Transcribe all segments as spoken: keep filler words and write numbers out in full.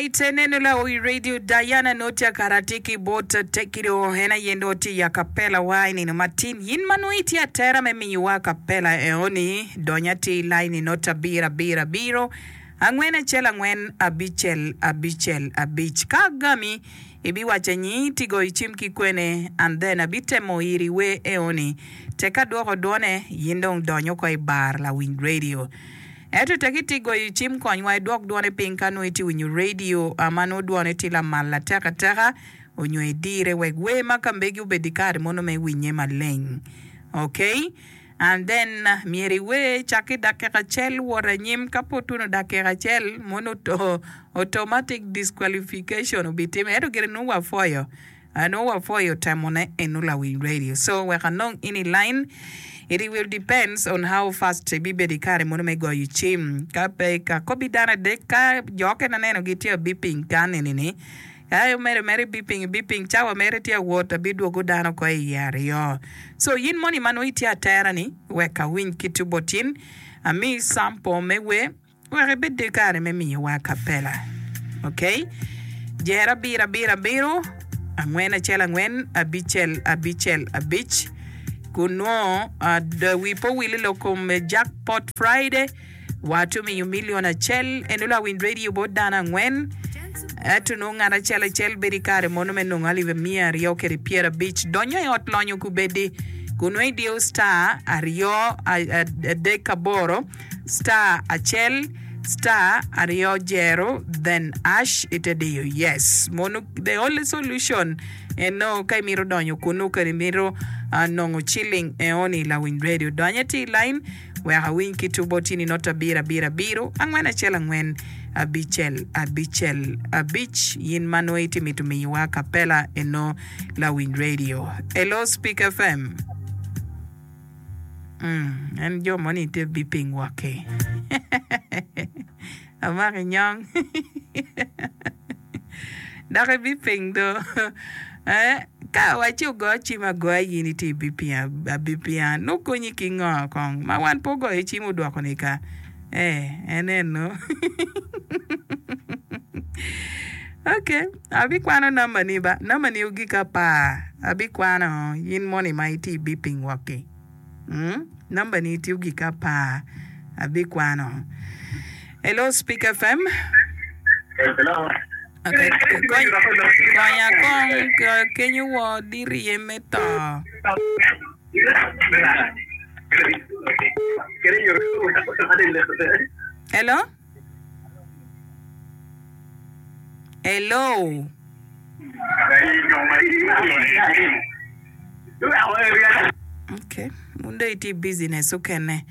Alright, eneno lawi radio Diana nongo tye akara tye ki bot Tekido en aye nongo tye i acapella wa i nino matin. Yin ma nongo itye atera me miyowa acapella eoni, dony atir i line i not abiro abiro abiro angwen acel angwen abicel abicel abic. Ka agami, ibiwaco nyi ti goyo cim ki kwene and then abitemo iri wer eoni. Tek adwoko dwone, yin dong dony oko i bar lawiny radio. Ento tek itye goyo cim konywa idwok dwone piny ka nongo itye winyo radio ma nongo dwone tye lamal atek ateka onyo idire wek wer ma ka megi obed i kare mono me winye maleng. Ok and then myero iwer cak ki dakika acel wot anyim ka pe otuno dakika acel mono automatic disqualification obitime ento gire nongo wapwoyo. Nongo wapwoyo temone eno lawiny radio so wek anong in i line it will depends on how fast ibibedo i kare mono me goyo cim ka pe ka kobi dano adek ka jo okene aneno gitye a beeping kan eni ni ka omede mere beeping beeping cawa mere tye awot abidwogo dano oko iye aryo so in moni ma nongo itye atera ni wek awiny kit bot in ami sample me wer. Wek ibed ki kare me miyowa acapella. Ok. Jer abiro abiro abiro, angwen acel angwen, abicel abicel abic. Kun nongo wi pe owil i lok kom Jackpot Friday, watye miyo milion acel eno lawiny radio bot dano angwen. Ento nongo ngat acel acel bedo i kare mono me nongo alip miya aryo kede pyerabic. Donyo i ot lonyo kubedi kun nongo idiyo star aryo adek aboro. Star acel star aryo jero then ash ite diyo yes mono the only solution eno ka imito donyo kunu kadi imito nongo ciling eoni lawiny radio dony atir line wek awiny ki tubo tini not abiro abiro abiro angwen acel angwen abicel abicel abic yin ma nongo iti mito miyowa acapella eno lawiny radio hello speak fm. En jo moni tye biping wok-ki. Amako inyong. Dok ibiping do. Eh, ka awacci ogo cim agoya in itye ibiping abipinga nongo konyi ki ngo kong ma wan pe ogoyo cim odwoko ni ka. Eh, en eno. Okay, abikwano namba ni ba. Namba ni ogik apar. Abikwano in moni ma itye ibiping wok-ki. Mm, namba ni tye ogik apar. Abikwano. Hello, Speak FM. Hello. Okay, kony, konya kong kenyo wo dirye me to. Hello? Hello? Okay, mun dong itye i business okene.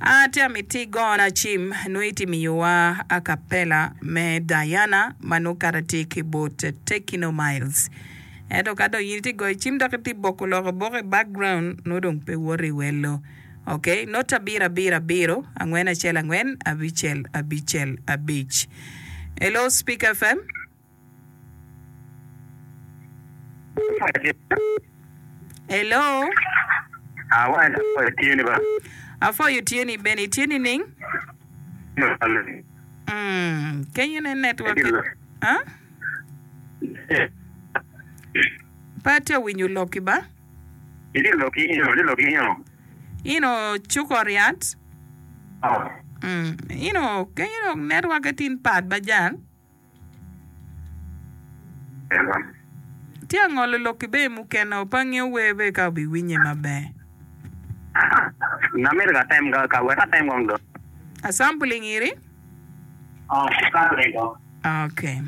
Ah, tye amiti igona cim nongo itye miyowa acapella me Diana ma nongo kata tye ki bot Tekino Miles. Ento ka dong in itye goyo cim dok itye boko lok aboka i background nongo dong pe woto i wello. Ok, not abiro abiro abiro angwen acel angwen abicel abicel abic. Hello Speak FM. Hello. Awaco afoyo tye ni ba. Afoyo tye ni bene itye nining? Mm, kenyo ne network. Huh? Pe atye winyo lokki ba. Itye lok ki ino, itye lok ki ino. Ino cuko ryat. Mm, ino kenyo dok network tin pat ba jal. Tye angolo lokki be mukene pe angeyo wer be ka obiwinye maber. Namito ka tem ka wek atem kong do. Asampling iri? Oh, sampling kong. Okay.